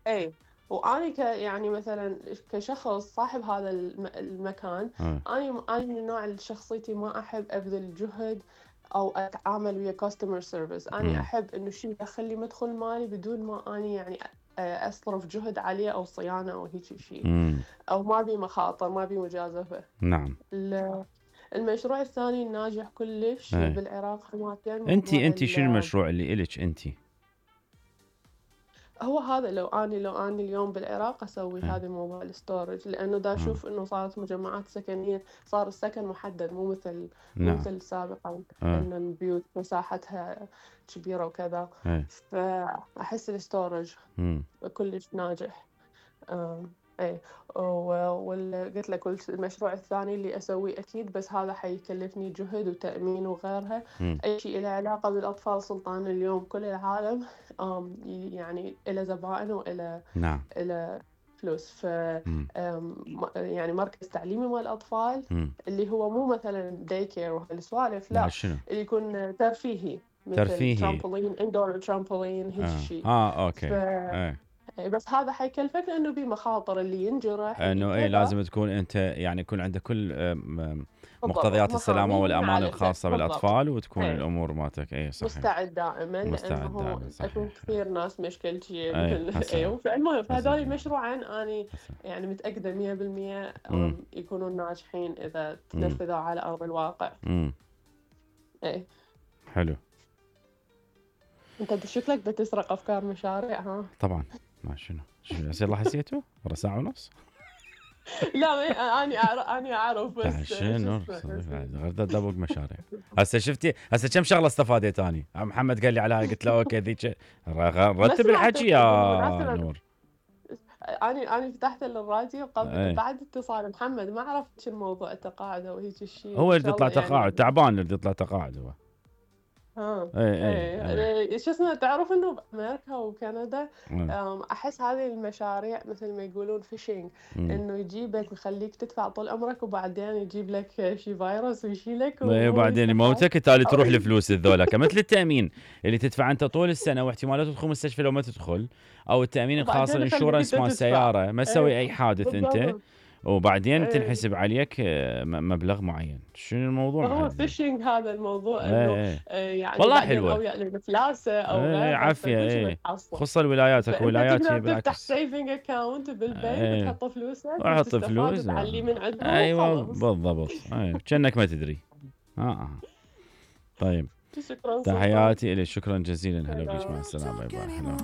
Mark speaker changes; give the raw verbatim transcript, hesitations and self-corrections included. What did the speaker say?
Speaker 1: اي واني ك يعني مثلا كشخص صاحب هذا الم- المكان،
Speaker 2: آه.
Speaker 1: اني اني من النوع اللي شخصيتي ما احب ابذل جهد او اتعامل ويا كاستمر سيرفيس. اني
Speaker 2: مم.
Speaker 1: احب انه شيء يدخل لي مدخل مالي بدون ما اني يعني اصرف جهد عليه او صيانه او هيك شيء،
Speaker 2: مم.
Speaker 1: او ما بي مخاطر، ما بي مجازفه.
Speaker 2: نعم.
Speaker 1: ال- المشروع الثاني الناجح كلش
Speaker 2: ايه.
Speaker 1: بالعراق حماتين
Speaker 2: انتي
Speaker 1: موضوع
Speaker 2: انتي شنو
Speaker 1: ال-
Speaker 2: المشروع اللي إلك انتي؟
Speaker 1: هو هذا. لو اني لو اني اليوم بالعراق اسوي
Speaker 2: ايه.
Speaker 1: هذا موضوع الستورج، لانه دا
Speaker 2: آه.
Speaker 1: اشوف انه صارت مجمعات سكنيه، صار السكن محدد، مو مثل مو
Speaker 2: نعم.
Speaker 1: مثل سابقا
Speaker 2: آه.
Speaker 1: ان البيوت مساحتها كبيره وكذا.
Speaker 2: ايه.
Speaker 1: فاحس الستورج
Speaker 2: مم.
Speaker 1: كلش ناجح. آم، ايه. وقلت لك قلت المشروع الثاني اللي اسويه اكيد، بس هذا حيكلفني جهد وتأمين وغيرها.
Speaker 2: مم.
Speaker 1: اي شيء له علاقة بالاطفال سلطان اليوم كل العالم آم، يعني الى زبائن والى
Speaker 2: نعم.
Speaker 1: الى فلوس. ف
Speaker 2: مم.
Speaker 1: آم، م- يعني مركز تعليمي مال الاطفال
Speaker 2: مم.
Speaker 1: اللي هو مو مثلا داي كير وهالسوالف،
Speaker 2: لا
Speaker 1: لا،
Speaker 2: شنو؟
Speaker 1: اللي يكون ترفيهي مثل
Speaker 2: ترفيهي.
Speaker 1: ترامبولين، اندور ترامبولين، هيك
Speaker 2: اه
Speaker 1: شيء.
Speaker 2: اه
Speaker 1: ف
Speaker 2: اوكي. ايه.
Speaker 1: إيه، بس هذا حيكلفك لانه بمخاطر، اللي ينجرح اللي
Speaker 2: انه ايه
Speaker 1: كذا.
Speaker 2: لازم تكون انت يعني يكون عندك كل آم، آم،
Speaker 1: بالضبط،
Speaker 2: مقتضيات السلامة
Speaker 1: محامي
Speaker 2: والامان
Speaker 1: يعالجك
Speaker 2: الخاصة
Speaker 1: بالضبط.
Speaker 2: بالاطفال، وتكون
Speaker 1: ايه،
Speaker 2: الامور مالتك ايه صحيح.
Speaker 1: مستعد دائما،
Speaker 2: مستعد
Speaker 1: لانه
Speaker 2: دائما
Speaker 1: اكو
Speaker 2: صحيح.
Speaker 1: كثير ناس مشكلتي
Speaker 2: ايه
Speaker 1: مثل
Speaker 2: هسه.
Speaker 1: ايه. فالمهم
Speaker 2: هسه
Speaker 1: فهذول
Speaker 2: جاي.
Speaker 1: مشروعين اني
Speaker 2: هسه.
Speaker 1: يعني متاكده مية بالمية
Speaker 2: امم.
Speaker 1: أم، يكونون ناجحين اذا
Speaker 2: امم.
Speaker 1: تنفذوا على ارض الواقع.
Speaker 2: امم.
Speaker 1: ايه.
Speaker 2: حلو.
Speaker 1: انت شكلك بتسرق افكار مشاريع، ها؟
Speaker 2: طبعا. ما شنو شنو يصير الله حسيته ورا ساعة ونص.
Speaker 1: لا، ما اني اعرف، اني اعرف
Speaker 2: لا
Speaker 1: بس شو
Speaker 2: شنو
Speaker 1: اسمه.
Speaker 2: غير دبوق مشاريع. هسه شفتي هسه كم شغله استفادت اني. محمد قال لي على هاي قلت له اوكي ذيك رتب الحكي يا
Speaker 1: بالمناسبة
Speaker 2: نور.
Speaker 1: أنا أنا فتحت الراديو قبل
Speaker 2: ايه.
Speaker 1: بعد اتصال محمد، ما عرفت شو الموضوع التقاعد أو هيك الشيء،
Speaker 2: هو
Speaker 1: إن
Speaker 2: يريد
Speaker 1: شاء
Speaker 2: يطلع
Speaker 1: الله
Speaker 2: تقاعد
Speaker 1: يعني.
Speaker 2: تعبان يريد يطلع تقاعد هو.
Speaker 1: ها.
Speaker 2: ايه ايه ايه.
Speaker 1: إيه شو اسمه، تعرف إنه بأمريكا وكندا
Speaker 2: ايه.
Speaker 1: أم، أحس هذه المشاريع مثل ما يقولون فيشينج،
Speaker 2: مم.
Speaker 1: إنه يجيبك ويخليك تدفع طول عمرك، وبعدين يجيب لك شي فيروس ويشيلك
Speaker 2: ايه
Speaker 1: وهو
Speaker 2: وبعدين
Speaker 1: يستفاد.
Speaker 2: يموتك تالي
Speaker 1: أو
Speaker 2: تروح الفلوس الذولا مثل التامين اللي تدفع انت طول السنه واحتمالات تدخل مستشفى لو ما تدخل، او التامين الخاص
Speaker 1: وبعدين يخليك
Speaker 2: الانشورنس
Speaker 1: أنت
Speaker 2: مال
Speaker 1: تدفع.
Speaker 2: السياره ما
Speaker 1: إيه
Speaker 2: تسوي اي حادث انت،
Speaker 1: بالضبط.
Speaker 2: وبعدين
Speaker 1: إيه.
Speaker 2: تنحسب عليك آه، م- مبلغ معين. شنو الموضوع
Speaker 1: فهو
Speaker 2: معلم؟
Speaker 1: فيشنج هذا الموضوع،
Speaker 2: ايه
Speaker 1: انه
Speaker 2: ايه.
Speaker 1: آه، يعني
Speaker 2: والله
Speaker 1: بعدين
Speaker 2: حلوه.
Speaker 1: او يعني مفلاسه او
Speaker 2: ايه
Speaker 1: غيرها،
Speaker 2: عافيه
Speaker 1: فكل شيء
Speaker 2: ايه.
Speaker 1: بتحصل.
Speaker 2: خصوصا الولايات اكو
Speaker 1: فانت
Speaker 2: ولايات هي
Speaker 1: تقدر تفتح
Speaker 2: بالعكس.
Speaker 1: سيفنج اكاونت بالبنك
Speaker 2: ايه.
Speaker 1: وتحط فلوسك
Speaker 2: احط
Speaker 1: وتستفاد
Speaker 2: فلوس.
Speaker 1: وتعلي من عندهم
Speaker 2: ايوه
Speaker 1: وخلاص.
Speaker 2: بالضبط. ايه كأنك ما تدري. اه اه. طيب.
Speaker 1: شكرا سلطان.
Speaker 2: تحياتي إلي، شكرا جزيلا. هلا بيك، مع
Speaker 1: هلا.
Speaker 2: السلامة، باي باي. هلا.